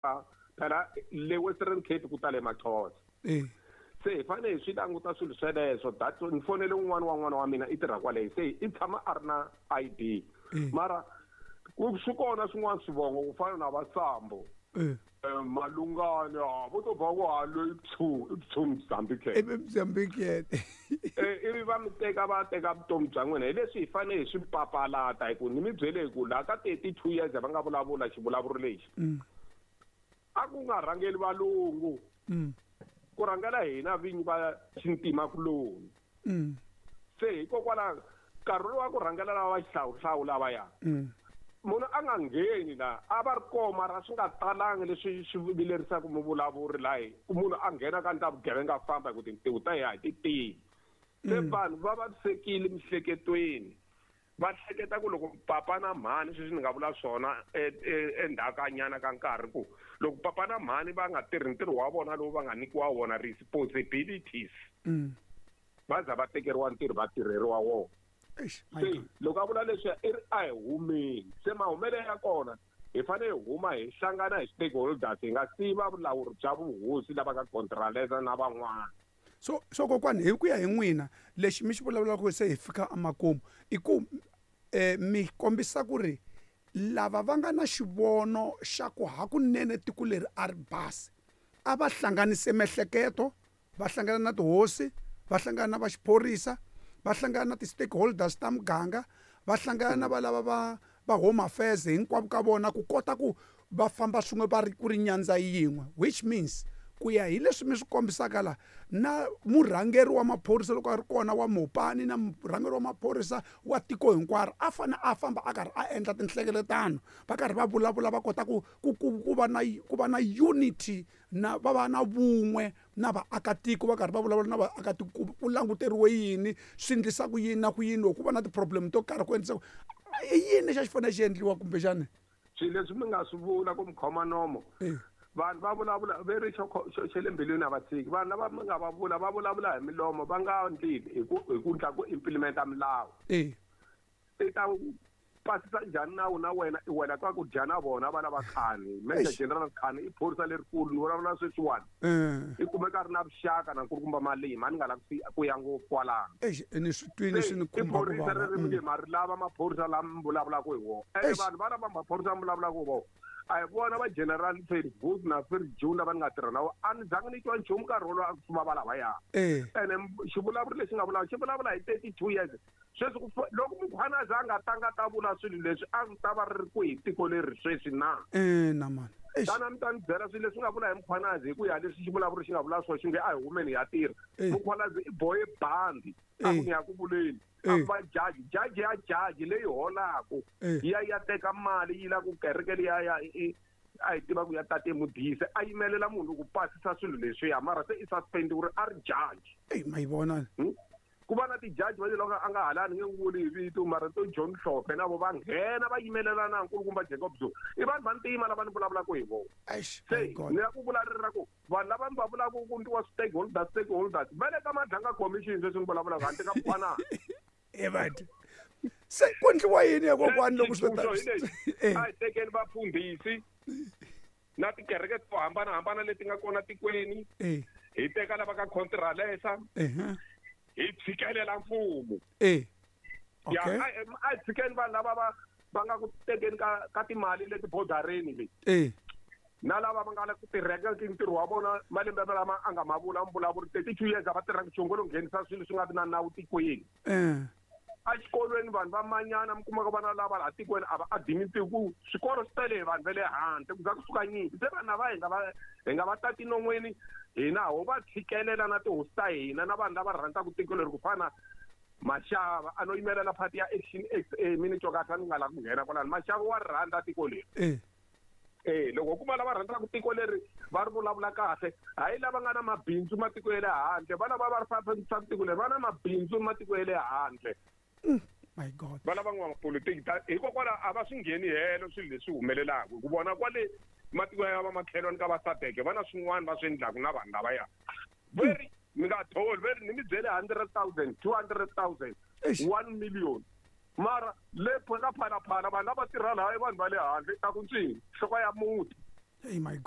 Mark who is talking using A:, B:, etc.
A: Phela le Western Cape ku tale Maxhosa. Se hi fanele hi swi languta swilo sweleswo. That ni fonele un'wana wa n'wana wa mina i tirha kwale, se i tshama a ri na ID. Mara ku swi kona swin'wana swivongo ku fana na Vasambo. Malungani vo to ba ku ha loyi pshu i pshu Mozambique.
B: I Mozambique.
A: Ivi va mi teka va teka vutomi bya n'wina. Hi leswi hi fanele hi swi papalata, hi ku ni mi byele hi ku laha ka 32 years va nga vulavula xivulavuri lexi. A ku nga rhangeli valungu. Ku rhangela hina vinyi va xintima kuloni. Se hikokwalaho nkarhi lowu wa ku rhangela lava va xihlawuhlawu lavaya. Munhu a nga ngheni la, a va ri kona mara swi nga talangi leswi swi vilerisaka muvulavuri laha hi ku munhu a nghena ka ndla vugevenga a famba hi ku tintiho ta yena a hi ti tivi. Se vanhu va vavisekile miehleketweni. Va hleketa ku loko papa na mhani, sweswi ni nga vula swona endzhaku ka nkarhi ku loko papa na mhani va nga tirhi ntirho wa vona lowu va nga nyikiwa wona responsibilities, va za va tekeriwa ntirho va tirheriwa wona.
B: Eish, my
A: Se
B: God.
A: loko a vula leswi i ri a hi humeni, se mahumelo ya kona hi fanele hi huma hi hlangana hi stakeholders, hi nga siyi va vulawuri bya vuhosi lava nga contralesa na van'wana.
B: So kokwani, hi ku ya hi n'wina lexi mi xi vulavulaka se hi fika emakumu i ku mi kombisa ku ri lava va nga na xivono xa ku hakunene tiko leri a ri basi a va hlanganise miehleketo, va hlangana na tihosi, va hlangana na va xiphorisa, va hlangana na ti-stakeholders ta muganga, va hlangana na va lava va home affairs hinkwavo ka vona ku kota ku va famba swin'we va ri ku ri nyandza yin'we, which means ku ya hi leswi mi swi kombisaka la na murhangeri wa maphorisa loko a ri kona wa Mopani na murhangeri wa maphorisa wa tiko hinkwaro a fane a famba a karhi a endla tinhlengeletano, va karhi va vulavula va kota ku ku ku ku va na ku va na unity na va va na vun'we na vaakatiko, va karhi va vulavula na vaakatiko ku languteriwe yini, swi endlisa ku yini na ku yini loko ku va na ti-problem to karhi ku endlisa ku i yini lexi a xi fanele xi endliwa kumbexani.
A: Swilo leswi mi nga swi vula ku mi khoma nomo, vanhu va vulavula ve ri xo le mbilwini a va tshiki. Vanhu lava mi nga va vula va vulavula hi milomo, va nga endli hi ku ndla ku implementa milawu. I ta pasisa njhani nawu na wena i wena ka ku dya na vona vana va Khani? Major General Khani i phorisa lerikulu, ni vulavula sweswiwani. I kumeka a ri na vuxaka na nkulukumba Malima, a ni nga lavi ku ya ngopfu kwalano.
B: Eish, ni swi twini swi ni khumba ku
A: I phorisa
B: vava.
A: ri ri nge ma ri lava maphorisa lama mi vulavulaka hi wona. Ene vanhu va lava maphorisa mi vulavulaka hi wona, a hi vona va General Fergus na Ferjun lava ni nga tirha na vona, a ni zangi ni twa nchumu nkarhi wolowo a ku fuma va lavaya. Ene xivulavuri lexi nga vulavula xi vulavula hi 32 years. Sweswi ku loko Mkhwanazi a nga tanga ta vula swilo leswi a swi ta va ri kwihi tiko leri sweswi na?
B: Na mani. Eish.
A: Tana mi ta ni byela swilo leswi nga vula hi Mkhwanazi hi ku ya leswi xivulavuri xi nga vula swona xi nge a hi humeni hi ya tirha. Mkhwanazi i bohe bandi a ku ni ya ku vuleni. A ku va jaji, jaji ya jaji leyi holaku ya ya teka mali yi la ku kereke liya ya i a hi tiva ku ya tate Modise a yimelela munhu ku pasisa swilo leswiya, mara se i suspendiwe a ri jaji.
B: Ey, ma yi vona.
A: Ku va na ti-judge va loko a nga halani nge vuli hi vito, mara to John Hlophe na vo va nghena va yimelela na nkulukumba Jacob Zuma. I vanhu va ntima lava ni vulavulaka hi vona.
B: Eish,
A: Se,
B: my God.
A: ni la ku vula ri ra ku vanhu lava ni va vulaka ku ndliwa stakeholders, stakeholders va le ka Madlanga Commission sweswi ni vulavulaka handle ka Mkhwanazi.
B: E vanhu. Se ku ndliwa yini ya kokwani loko swi ta
A: Xitsundzuxo hi lexi. A hi tekeni vafundhisi na tikereke to hambanahambana leti nga kona tikweni. Hi teka lava ka Contralesa. Hi tshikelela mfumo. Ya, a hi tshikeni vanhu lava va nga ku tekeni ka timali leti bodareni leti. Na lava va nga la ku tirheka ntirho wa vona malembe lama a nga ma vula mvulavuri 32 years a va tirhanga nchumu, lo nghenisa swilo swi nga vi na nawu tikweni. Exikolweni vanhu va manyana mi kuma ku vana lava laha tikweni a va admit ku swikolo swi tele hi vanhu va le handle ku za kusuka nyimpi. Se vanhu lava hi nga va tati non'weni hina ho va tshikelela na tihosi ta hina na vanhu lava rhandzaka tiko leri ku fana Mashava a no yimelela party ya Action XA, mi ni twa kahle a ni nga lavi ku nghena kwalano. Mashava wa rhandza tiko leri. Loko ku va lava rhandzaka tiko leri va ri vulavula kahle, hayi lava nga na mabindzu matiko ya le handle, va lava va ri fambisaka tiko leri va na mabindzu matiko ya le handle.
B: My God.
A: Va lava n'wamapolotiki ta hikokwalaho a va swi ngheni helo swilo leswi humelelaka, hi ku vona kwale matiko ya va makhelwani ka va SADC va na swin'wana va swi endlaka na vanhu lavaya. Ve ri mi nga tholi, ve ri ni mi byele 100,000, 200,000,
B: Eish.
A: 1 million. Mara le ka Phalaphala vanhu lava tirha laha i vanhu va le handle, ta ku ntswini, nhloko ya muti.
B: Hey my God.